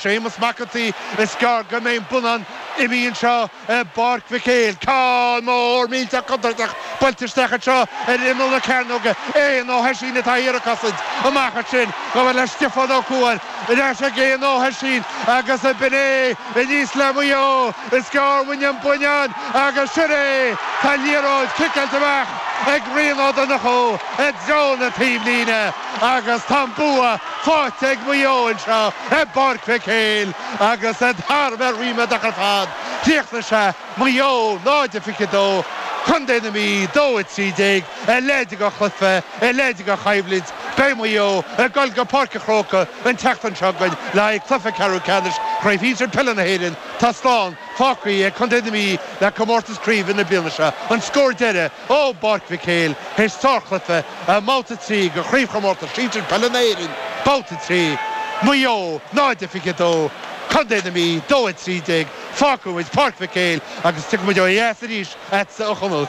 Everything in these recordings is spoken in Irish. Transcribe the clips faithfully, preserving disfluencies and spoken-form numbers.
Séamus Mac an tSaoi is gearr go mbeidh an bonnán imithe anseo i bPáirc Mhic Éil. Ceann mór millteach contúirteach buailte isteach anseo ar imeall na cearnóige. Éanna Ó hOisín atá thiar ag cosaint amach ansin chomh fada le Stiofán Ó Cuain. Ar ais ag Éanna Ó hOisín agus b'in é aníos le Maigh Eo. Is gearr uainn an buinneán agus sin é! Tá an liathróid ciceáilte amach ag Rian Ó Donnchú i dtreo na taobhlíne agus tá an bua faighte ag Maigh Eo anseo i bPáirc Mhic Éil agus iad thar a bheith ríméadach ar fad. Chríochnaigh sé, Maigh Eo náid a fiche dó, Contae na Mí dó a trí déag, a leithéid de chluiche, a leithéid de choimhlint. Beidh Maigh Eo ag dul go Páirc an Chrócaigh an tseachtain seo chugainn le haghaidh cluiche ceathrú ceannais Chraobh Shinsir Peile na hÉireann. Tá slán fágtha ag Contae na Mí le comórtas craoibhe na bliana seo. An scór deiridh ó bPáirc Mhic Éil théis sárchluiche i mbabhta a trí de Chraobhchomórtas Sinsir Peile na hÉireann, Babhta a trí, Maigh Eo náid a fiche dó, Contae na Mí dó a trí déag. Fágfaidh muid Páirc Mhic Éil agus tiocfaidh muid ó dheas arís agatsa a Chonaill.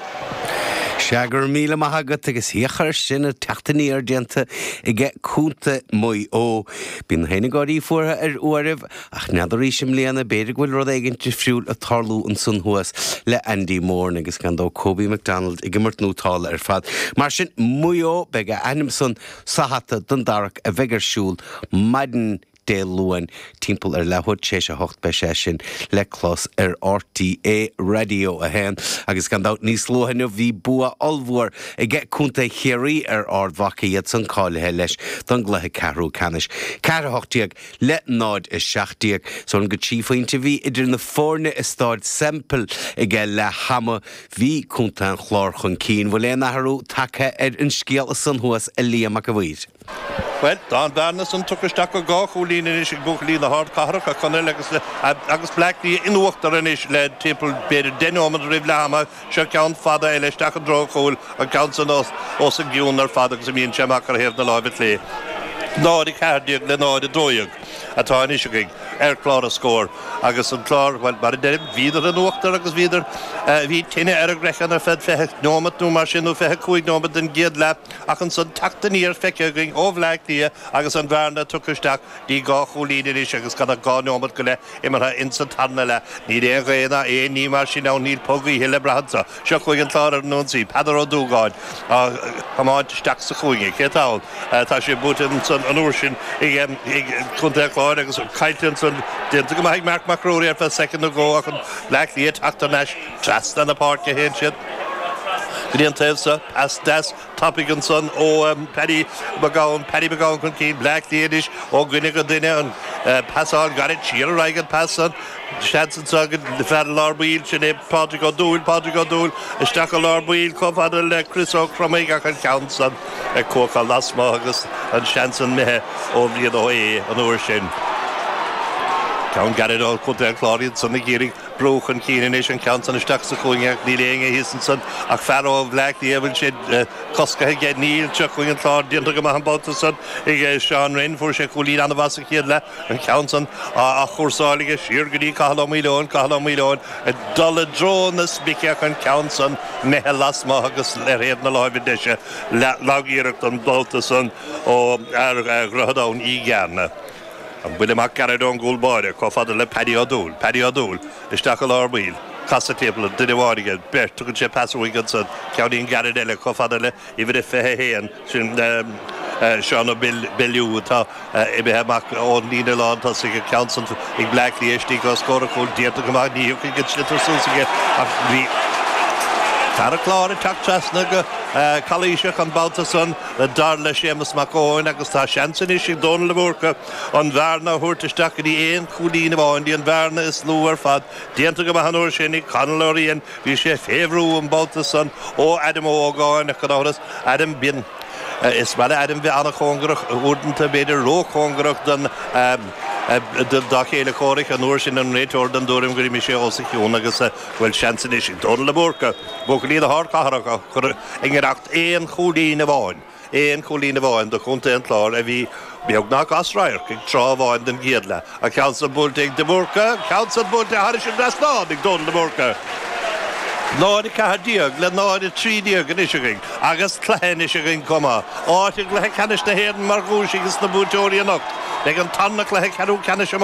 Sea, go raibh míle maith agat agus féach air sin ag teacht aniar déanta aige Contae Mhaigh Eo. Bíonn na féin fuartha ar uairibh ach n'fheadar arís i mbliana b'fhéidir go bhfuil rud éigin difriúil ag tarlú ansan thuas le Andy Moran agus gan dabht Kobe McDonald ag imirt nótála ar fad. Mar sin Maigh Eo beidh a ainm san sa hata don dtarrac a bheidh ar siúl maidin Dé Luain timpeall ar leathuair tar éis a hocht beidh sé sin le clos ar RTÉ Raidió a haon agus gan dabht níos luaithe inniu bhí bua ollmhór aige Contae Chiarraí ar Ard Mhacha iad san cáilithe leis don gcluiche ceathrú ceannais. Ceathair a hocht déag le náid a seacht déag. So an go trí phointe bhí idir na foirne i Staid Semple aige leath ama bhí Contae an Chláir chun cinn bhfuil aon athrú tagtha ar an scéal san thuas a Liam Mac a' Mhaoir. Well tá an bhearna san tugtha isteach go dhá chúilín anois ag buachaillí na hArdchathrach a Chonaill agus agus Bleá Cliath in uachtar anois le timpeall b'fhéidir deich nóiméad roimh leath ama seo ceann fada eile isteach i dtreo an chúil an ceann san os os a gcionn ar fad agus imíonn sé amach ar thaobh na láimhe clé. Náid a ceathair déag le náid a dó dhéag atá anois againn ar chlár na scór agus an clár well mar a deirim bhíodar in uachtar agus bhíodar bhí tine ar a gcraiceann ar feadh fiche nóiméad nó mar sin nó fiche cúig nóiméad den gcéad leath ach ansan teacht aniar feicthe againn ó Bhleá Cliath agus an bhearna tugtha isteach dtí dhá chúilín anois agus gan ach dhá nóiméad go leith imeartha insa tarna leath. Níl aon ghaoth ná aon ní mar sin ann níl pog oíche le brath anseo. Seo chugainn an clár ar an ionsaí Peadar Ó Dúgáin á thiomáint isteach sa chúinne. Cé atá ann? Tá sé buailte ansan an uair sin ag ag Contae an Chláir agus caillte ansan déanta go maith ag Marc Mac Ruairí ar feadh soicind nó dhó ach an Bleá Cliath teacht thar n-ais trasna na páirce a théann siad. Go dtí an taobh seo pas deas tapaidh ansan ó Paddy McGowan, Paddy McGowan chun cinn, Bleá Cliath anois ó dhuine go duine an pasáil gairid siar ar aghaidh an pas san seans anseo go fear lár baill sin é Pádraig Ó Dúill, Pádraig Ó Dúill isteach i lár baill chomh fada le Chris Ó Cromaigh ach an ceann san ag cuachadh lasmuigh agus an seans san imithe ó Bhrian Ó hAodha an uair sin. Ceann gairid ó Chontae an Chláir iad san ag iarraidh brú chun cinn anois an ceann san isteach sa chúinne ach níl éinne thíos ansan ach fear ó Bhleá Cliath bhfuil sé coscaithe aige níl seo chugainn an clár déanta go maith an babhta san ag Seán Rinn fuair sé cúilín an-mhaith sa chéad leath an ceann san á chúrsáil aige siar go dtí Cathal Ó Maoileoin Cathal Ó Maoileoin ag dul i dtreo na spice ach an ceann san imithe lasmuigh agus ar thaobh na láimhe deise lag-iarracht an babhta san ó fhear Dhroichead Abhann Uí Ghearna. An buille amach gairid ón gcúl báire chomh fada le Paddy Ó Dúill, Paddy Ó Dúill isteach i lár baill, casadh timpeall, duine amháin aige, beirt, tugann sé pas uaidh ansan, ceainnín gairid eile chomh fada le uimhir a fiche a haon, sin Seán Ó Beilliú atá imithe amach ón líne lán tosaigh, an ceann san ag Bleá Cliath istigh os comhair an chúil, déanta go maith, ní thiocfaidh an sliotar suas aige ach bhí fear an Chláir ag teacht trasna go calaoiseach an babhta san dar le Séamus Mac Eoin agus tá seans anois ag Dónal de Búrca an bhearna a thabhairt isteach go dtí aon chúilín amháin, dtí an bhearna is lú ar fad. Déanta go maith an uair sin ag Conall Ó Riain, bhí sé fé bhrú an babhta san ó Adam Ó hÓgáin ach gan amhras, Adam, bíonn, is maith le Adam bheith an-chóngarach, uaireanta b'fhéidir róchóngarach don, dá chéile comhraic, an uair sin an réiteoir den dtuairim gur imigh sé os a chionn agus go bhfuil seans anois ag Dónal de Búrca, buachaillí na hArdchathrach a chur i ngiorracht aon chúilín amháin. Aon chúilín amháin do chontae an Chláir a bhí beagnach as radharc ag tráth amháin den gcéad leath. An ceann san buailte ag de Búrca, an ceann san buailte thairis an dtrasnán ag Dónal de Búrca. náid a ceathair déag le náid a trí déag anois againn agus cluiche anois againn chomh maith. Áit i gcluiche ceannais na hÉireann mar dhuais ages na buaiteoirí anocht. Beidh an tarna cluiche ceathrú ceannais amárach.